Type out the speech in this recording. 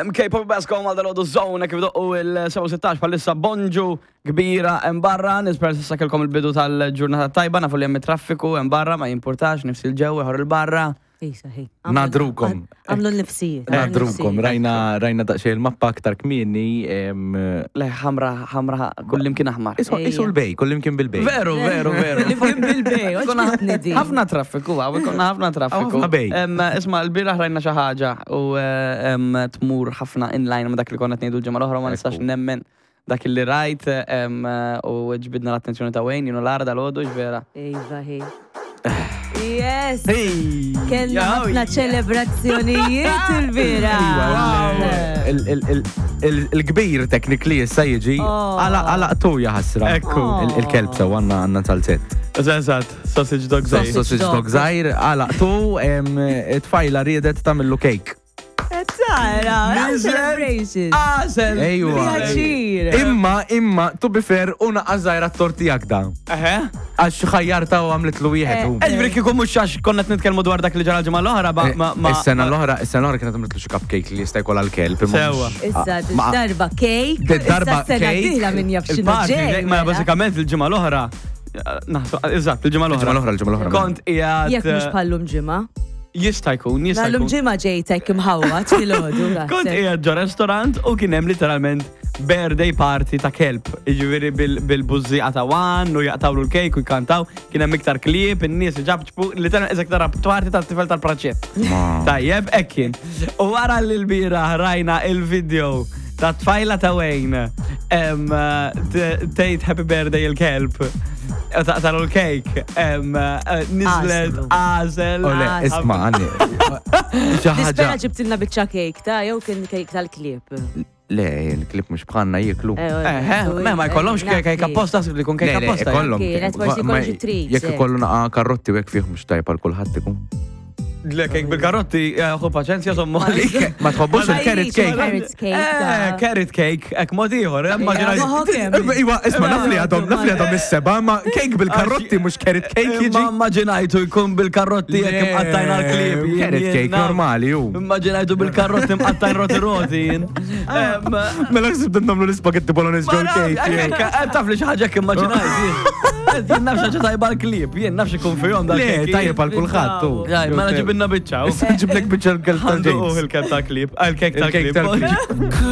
MK Pop Basco mal dal Zone kif doqqu il-16 bħalissa bonġu kbira hemm barra, nispera s'issa kellkom il-bidu tal-ġurnata tajba, nafu li hemm it-traffiku hemm barra ma jimpurtax, nifs il-ġew ieħor il-barra. Isa, hi. Nadrukom. Għamlu l-nifsijiet. Nadrukom, rajna rajna daqsxejn il-mappa aktar kmieni. Le ħamra ħamra kullimkien aħmar. Isu l-bej, kullimkien bil-bej. Veru, veru, veru. Kullimkien bil-bej, oġbitni din. Ħafna traffiku, għaw, konna ħafna traffiku. Ħafna bej. Isma, l-bieraħ rajna xi ħaġa u tmur ħafna inline ma dak li konna tnejdu l-ġimgħa l-oħra ma nistax nemmen dak li rajt u ġbidna l-attenzjoni ta' Wayne, jenu l-ara dal-ħodu vera. Iva, hi. Yes! Kellna ħafna ċelebrazzjonijiet il-bira. Il-kbir technically issa jiġi Oh. għala tu jaħasra. Ekku. Il-kelb sew għanna għanna tal-zett. Eżatt, sausage dog Sausage Sausage dog. dog zaħir, għala tu tfajla riedet tamillu cake. Tara, celebration. Għazel! Ejwa. Pjaċir. Imma, imma, to be fair, una għazzajra t-torti da. Eħe. Għax ħajjarta u għamlitlu wieħed. u. Eġbri kieku mhux għax konna qed nitkellmu dwar dak li ġara l-ġimgħa l-oħra ma ma ma. Is-sena l-oħra, is-sena l-oħra kienet għamlitlu xi cupcake li jista' jkollha l-kelb. imma Sewwa. mhux- Issa, ma- darba cake. Darba Issa sena cake, dieħla min jaf x'inhu Il-party, ġej. ma mela. bażikament il-ġimgħa l-oħra. Naħseb, eżatt, il-ġimgħa l-oħra. Il-ġimgħa l-oħra, il-ġimgħa l-oħra. Kont qiegħed. Jekk mhux bħallum ġimgħa. Jista' jkun, jista' Bħallum jkun. ġimgħa ġejtek imħawwad filgħodu. Kont qiegħed ġo restaurant u kien hemm literalment birthday party ta' kelb. Jiġifieri bil-bużżieqa ta' wan u jaqtawlu l-kejk u jkantaw, kien hemm iktar klieb, in-nies iġabġbu, literalment eżek tara party tat-tifel tal-praċett. Tajjeb, hekk kien. U wara li l-bieraħ rajna il-video ta' tfajla ta' Wayne em, tgħid happy birthday il-kelb. U taqtalu l-kejk, em, eh, nizlet Għażlu. għażel. Ole, isma, għanni. Xi ħaġa. Nispera ġibtilna biċċa cake ta' jew kien cake tal-klieb. Le, il-klib mhux bħalna jieklu. Eħe, me ma jkollhomx kejk apposta, li jkun kejk Le, le, apposta. ikollhom. Kienet forsi Ma- jkollhom xi treats, Jekk eh. ikollu naqa karrotti u jekk fih mhux tajb għal kulħadd ikun. Le, kejk bil-karotti, eh, ħu paċenzja sommu għalik. Ma tħobbux Ma il-carrot jridx cake. Carrot cake. Eh, ta' carrot cake, ek mod ieħor, immaġinaj. Ma ħokem. Iwa, isma, naf li għadhom, naf li għadhom is-seba, ma cake bil-karrotti mhux carrot cake Ma jiġi. immaġinajtu jkun bil-karotti jekk imqattajna l-klieb. jien- Carrot jien cake naf. normali ju. Immaġinajtu bil-karotti mqattajn roti roti. jien. Em, Mela ħsib nagħmlu l-ispagetti bolognese Ma ġol naf, cake. hekk, hekk, Taf li xi ħaġa hekk immaġinajt. jien. Jien naf xi ħaġa tajba l-klieb, jien naf xi jkun fihom dal Le, tajjeb għal kulħadd tu. Jaj, mela ġibilna biċċa. Issa ġiblek biċċa l-kelb Għandu tal-James. il-kelb tal-klieb, il-kek Il-kek tal-klieb. tal-klieb.